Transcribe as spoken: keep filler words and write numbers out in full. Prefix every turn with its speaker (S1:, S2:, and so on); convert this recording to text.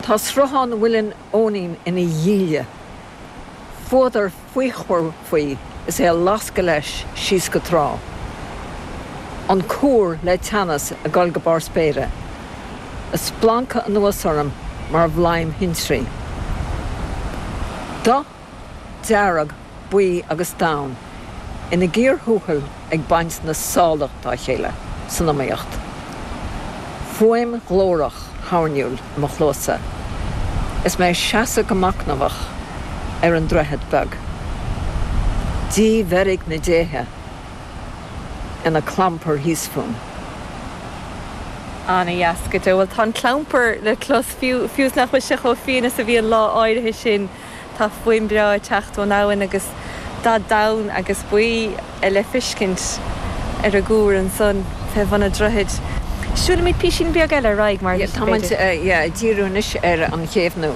S1: Tá sruthán Mhuileann Eoinín ina dhíle. Fuadar faochmhar faoi is é ag lascadh leis síos go trá. An cúr le teannas ag dul go barr spéire. Ag splancadh anuas orm mar bhladhm thintrí. Dath dearg, buí agus donn ina gcíor thuathail ag baint na sálach dá chéile san iomaíocht. Fuaim ghlórach thoirniúil i mo chluasa. Is mé ag seasamh go machnamhach ar an droichead beag. Dímheirg na ndéithe ina clampar thíos fúm.
S2: Ana-dheas go deo. Bhuel tá an clampar le clos fiú fiú is nach bhfuil sé chomh fiáin is a bhí an lá áirithe sin tá fuaim breá ag teacht ón abhainn agus dath donn agus buí le feiscint ar an gcúr ansan fé bhun an droichid. Siúlfaimid písín beag eile ar aghaidh mar
S1: Tá ag díriú anois ar an chéibh nua.